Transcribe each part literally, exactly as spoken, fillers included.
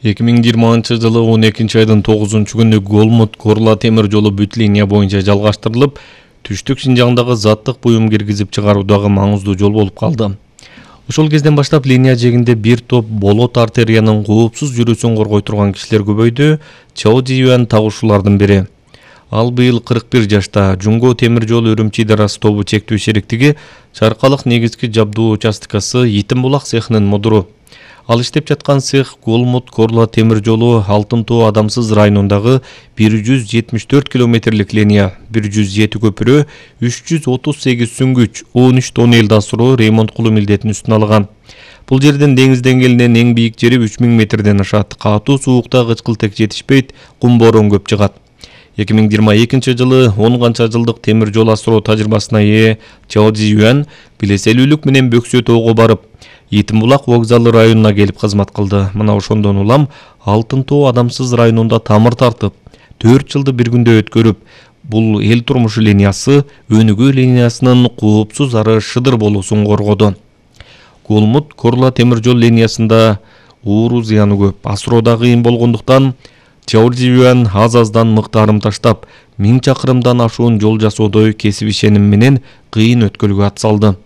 эки миң жыйырманчы жылы он экинчи айдын тогузунчу күнү Голмут-Корла темир жолу бүт линия боюнча жалгаштырылып, түштүк Шинжаңдагы заттык буюм киргизип чыгаруудагы маңыздуу жол болуп калды. Ошол кезден баштап линия жээгинде бир топ болот артериянын коопсуз жүрүүсүн коргой турган кишилер көбөйдү. Чао Жиюан тагушуулардын бири. Ал быйыл кырк бир жашта. Жунго темир жол Үрүмчи дарасы тобу чектүү шериктиги Чаркалык негизги жабдуу участкасы Итим булак цехинин мудуру. Ал иштеп жаткан цех Голмут-Корла темир жолу Алтын тоо Адамсыз районундагы бир жүз жетимиш төрт километрлик линия, бир жүз жети көпүрө, үч жүз отуз сегиз сүңгүч, он үч тонн элди асыруу ремонт кылуу милдетин үстүнө алган. Бул жерден деңиз деңгээлинен эң бийик жери үч миң метрден ашат. Катуу суукта кычкылтек жетишпейт, кум борон көп чыгат. эки миң жыйырма экинчи жылы он канча жылдык темир жол асыроо тажрыйбасына ээ Чао Жиюан билеселүүлүк менен Бөксө тоого барып, Итим булак вокзалы районуна келип кызмат кылды. Мына ошондон улам Алтын тоо Адамсыз районунда тамыр тартып, төрт жылды бир күндө өткөрүп, бул эл турмушу линиясы өнүгүү линиясынын коопсуз ары шыдыр болуусун коргоду. Голмут-Корла темир жол линиясында ууру зыяны көп, асыроода кыйын болгондуктан Чао Жиюан аз-аздан мыктарым таштап, миң чакырымдан ашуун жол жасоодой кесип ишеним менен кыйын өткөлгө атсалды.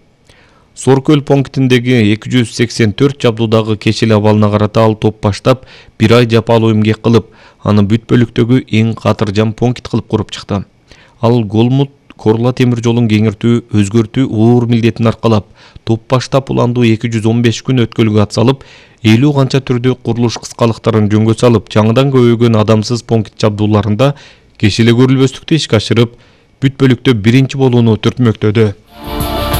Соркөл пунктиндеги эки жүз сексен төрт жабдуудагы кечил абалына карата ал топ баштап, бир ай жапалуу эмгек кылып, аны бүт бөлүктөгү эң катыржам пункт кылып куруп чыкты. Ал Голмут-Корла темир жолун кеңиртүү, өзгөртүү оор милдетин аркалап, топ баштап уландуу эки жүз он беш күн өткөлгө атсалып, элүү канча түрдүү курулуш кыскалыктарын жөнгө салып, жаңыдан көбөйгөн Адамсыз пункт жабдууларында кечиле көрүлбөстүктү ишке ашырып, бүт бөлүктө биринчи болууну түртмөктөдү.